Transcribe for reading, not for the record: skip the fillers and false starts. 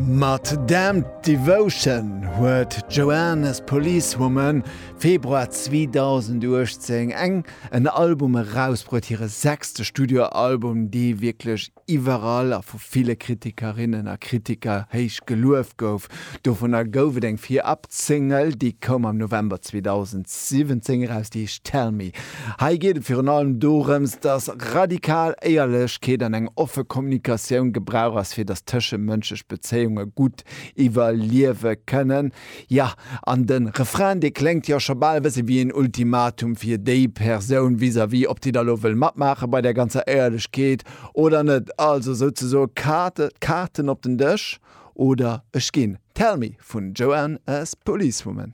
Mat Damned Devotion huet d'Joanne as Policewoman Februar 2018 eng en Album erausbruet, hire sechste Studioalbum, dee wierklech iwwerall a vu ville Kritikerinnen a Kritiker héich gelueft gouf. Dovunner gouf et eng Virab-Single, déi koum am November 2017 eraus, déi heescht Tell Me. Hei geet et virun allem dorëms, dass radikal Éierlechkeet an eng offe Kommunikatioun gebrauch ass, fir dass tëschemënschlech Bezéiunge gutt iwwerliewe kënnen. Jo, an de Refrain, dee kléngt jo scho bal e bësse wéi en Ultimatum fir déi Persoun vis-à-vis, ob déi da lo wëll matmaache bei där ganzer Éierlechkeet oder net. Also souzesoe Kaarten op den Dësch oder ech ginn. Tell Me vun Joanne as Policewoman.